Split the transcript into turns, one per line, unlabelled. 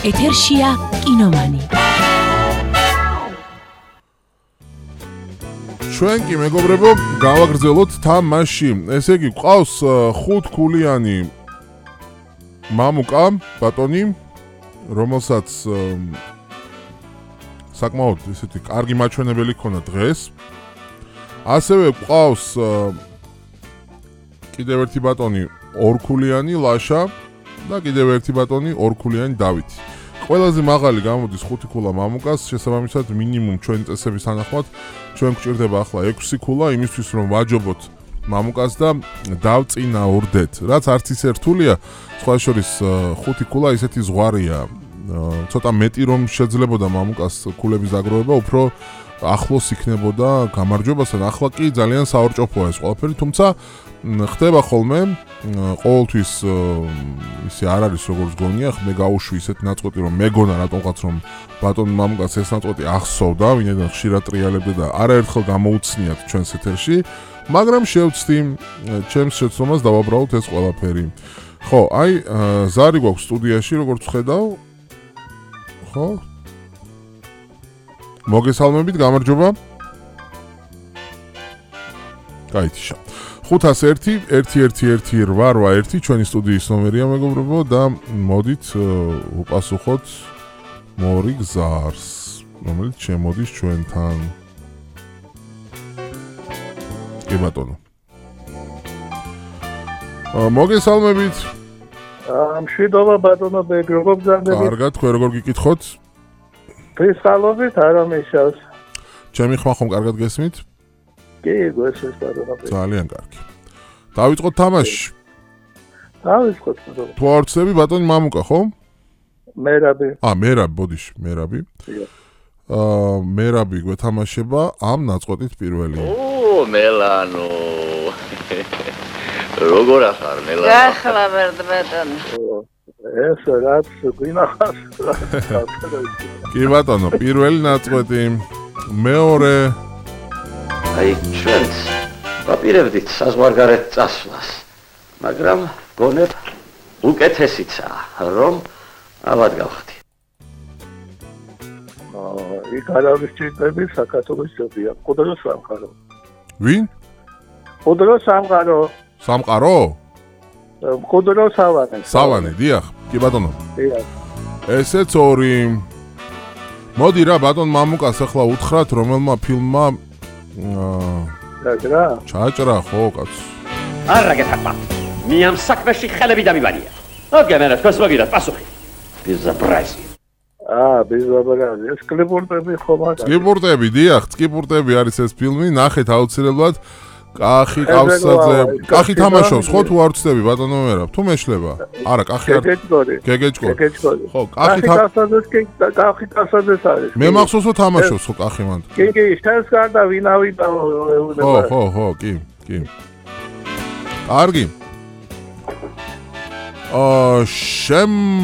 ეთერშია კინომანი.
ჩვენ კი მეგობრებო გავაგრძელოთ თამაში. ესე იგი ყავს 5 ქულიანი მამუკა ბატონი, რომელსაც საკმაოდ ესეთი კარგი მაჩვენებელი ქონა დღეს. ასევე ყავს კიდევ ერთი ბატონი 2 ქულიანი ლაშა და კიდევ ერთი ბატონი 2 ქულიანი დავითი. ყველაზე მაღალი გამოდის 5 ქულა მამუკას, შესაბამისად მინიმუმ ჩვენი წესების თანახმად ჩვენ გვჭირდება ახლა 6 ქულა იმისთვის რომ ვაჯობოთ მამუკას და დავწინაურდეთ. რაც არც ისე რთულია, სხვა შორის 5 ქულა ისეთი ზღვარია. ცოტა მეტი რომ შეძლებოდა მამუკას ქულების დაგროვება, უფრო ახლოს იქნებოდა გამარჯვებასთან. ახლა კი ძალიან საორჭოფოა ეს ყველაფერი, თუმცა ხდება ხოლმე ყოველთვის ისე არ არის როგორც გონია, მე გავუშვი ისეთ ნაწყვეტი რომ მეგონა რატომღაც რომ ბატონ მამუკას ეს ნაწყვეტი ახსოვდა, ვინაიდან ხშირად ტრიალებდა და არაერთხელ გამოუცნიათ ჩვენს ეთერში, მაგრამ შევცდი ჩემს შეცდომას დავაბრალოთ ეს ყველაფერი. ხო, აი ზარი გვაქვს სტუდიაში, როგორც ხედავ. ხო? მოგესალმებით, გამარჯობა. გაითიშა. 501-111-881 ჩვენი სტუდიის ნომერია მეგობრებო და მოდით უპასუხოთ მორი გზარს, რომელიც შემოდის ჩვენთან. კი ბატონო. მოგესალმებით.
მშვიდობა ბატონო ბეგ, როგორ გზარდებით?
კარგად, თქვენ როგორ გიკითხოთ?
ფესალობით არ ამიშავს.
ჩემი ხმა ხომ კარგად გესმით?
კი, გესმის ბატონო ბეგ.
ძალიან კარგი. დავიწყოთ თამაში.
დავიწყოთ ბატონო.
თუ არ ვწდები ბატონი მამუკა, ხო?
მერაბი.
მერაბი, ბოდიში, მერაბი. მერაბი გვეთამაშება ამ ნაწყვეტით პირველი.
მელანო. როგორ ახარ მელანო?
გახლა ბატონო.
ეს რაც გვინახავს.
კი ბატონო, პირველი ნაწყვეტი, მეორე
აი ჩვენს ვაპირებდით საზღვარგარეთ წასვლას, მაგრამ გონებ უკეთესიცაა, რომ ავად გავხდი.
იქ არავის ჭირდები საქართველოს ჯობია. ყუდრო სამყარო.
ვინ?
ყუდრო სამყარო.
სამყარო?
ყუდრო სავანე.
სავანე, დიახ. კი ბატონო.
დიახ.
ესეც ორი. მოდი რა ბატონ მამუკას ახლა უთხრათ რომელმა ფილმმა ჩაჭრა ხო კაც.
არა გეთახმა. მე ამ საქმეში ხელები დამიბანია. ოგემერა თქვენს მოგიდათ პასუხი. ბიზაბრაზი.
ბიზაბრაზი. ეს კლიპურტები ხომ არა?
კლიპურტები, დიახ, კლიპურტები არის ეს ფილმი, ნახეთ აუცილებლად. კახი ყავსაძე, კახი თამაშობს, ხო თუ არ ვწდები ბატონო მერაბ, თუ მეშლება? არა, კახი არ. გეგეჭკორი. ხო, კახი
ყავსაძეს არის.
მე მახსოვს რომ თამაშობს ხო კახი მანდ.
კი, შენს გარდა ვინავიდა.
ხო, კი. კარგი.